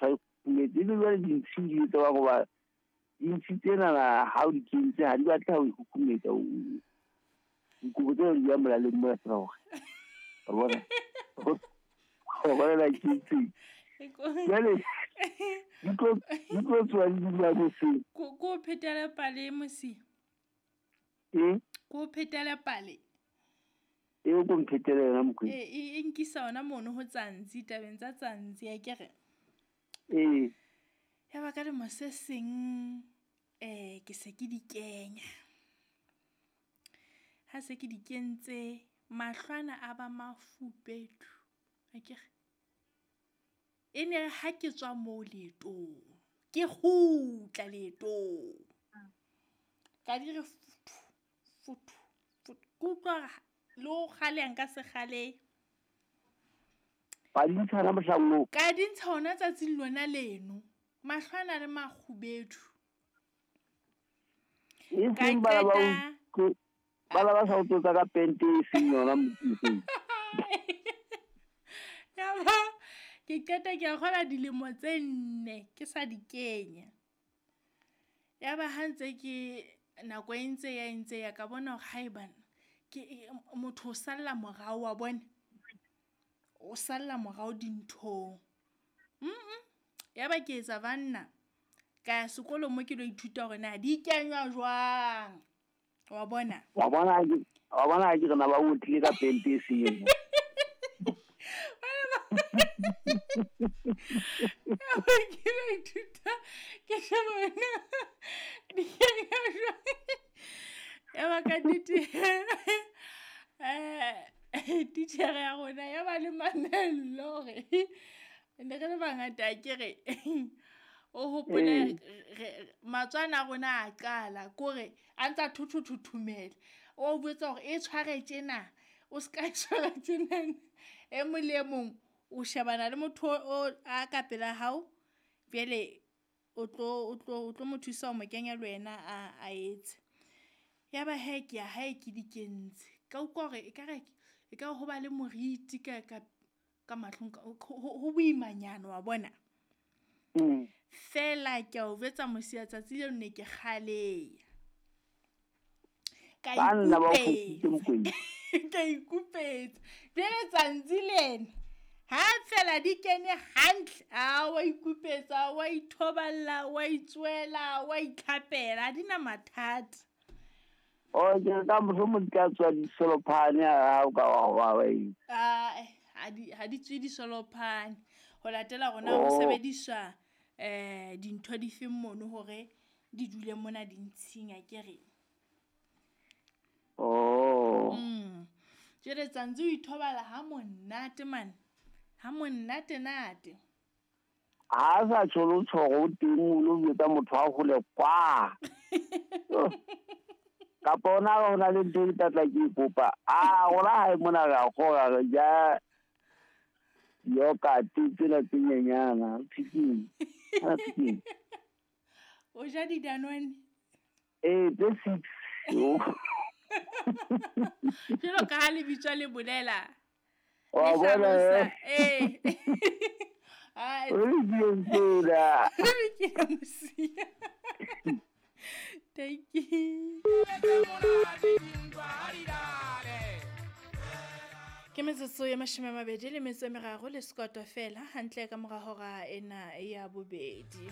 motho a ikhumetse ebe jwale dintshi di etsa ba goba dintshi tsena ha o di kentse ha di batle ha o ikhumetsa dikobo tsena di ya molaleng mola fela gore wa bona wa bona la kentse jwale di tlo tswa di dula moseng. Ko phetele pale mosi. Ko phetele pale. E o ko mphetele yona mokwena. E nkisa ona mono ho Tsantsi tabeng tsa Tsantsi ya kere. Ee. Ya ba ka lemo se seng ke se ke di kenya. Ha se ke di kentse mahlwana a ba mafubedu. Akere. E ne ha ke tswa moo leetong ke kgutla leetong ka di re futhu futhu futhu ke utlwa le ho kgale nka se kgale. Ba di ntsha hona mohlang oo? Ka di ntsha hona tsatsing lona leno. Mahlwana le makgubedu. E seng bana ba bana ba sa o tlotsa ka pente e seng yona motseng. Ya ba ke qeta ke a kgola dilemo tse 4 ke sa di kenya. Ya ba ha ntse ke nako e ntse ya ka bona hore haebana ke motho o salla morao wa bona. O salla morao dinthong. Ya ba ke etsa banna ka ya sekolong mo ke lo ithuta hore na di kenywa jwang. Wa bona? Wa bona ke rena ba o tlile ka pente e seng yona. Ke lo ithuta ke sheba wena di kenywa jwang. Ya ba ka nnete titjhere ya rona ya ba le mamello hore ne re le bangata ke re o hopole matswana a rona a qala kore a ntsa thothothomela o botsa hore e tshware tjena o ska tshwara tjena e mong le mong o shebana le motho o a ka pela hao jwale o tlo mo thusa ho mo kenya le wena a etse. Ya ba he ke ya hae ke di kentse ka utlwa hore ekare e ka ho ba le moriti ka ka mahlong ho boimanyana wa bona. Fela ke a o jwetsa mosia tsatsi leo ne ke kgaleya. Ka ikupetsa. Jwale Tsantsi le ena ha fela di kene hantle a wa ikupetsa wa ithoballa wa itswela wa itlhapela ha di na mathata. O ke ka mohlomong di ka tswa disolophane ha o ka wa wa e. Ha di tswe disolophane ho latela rona ho sebediswa dintho di feng mono hore di dule mona dintshing akere. Oh. Jwale Tsantsi o ithobala ha monate man. Ha monate nate. Ha sa tsholo tshoro teng o lo jwetsa motho a hole kwa. Kapa ona ho na le ntho e tla ke kopa. A rona ha e mona ra kgora re ja yogurt tsena tse nyenyana chicken. Chicken. O ja di Danone? Tse 6. Jwalo ka ha le bitswa le bolela. Wa bona. Ai. O le tsela. Ke mosia. Thank you. Ke metsotso ya 23 le sekoto fela hantle ka mora hora ena ya bobedi.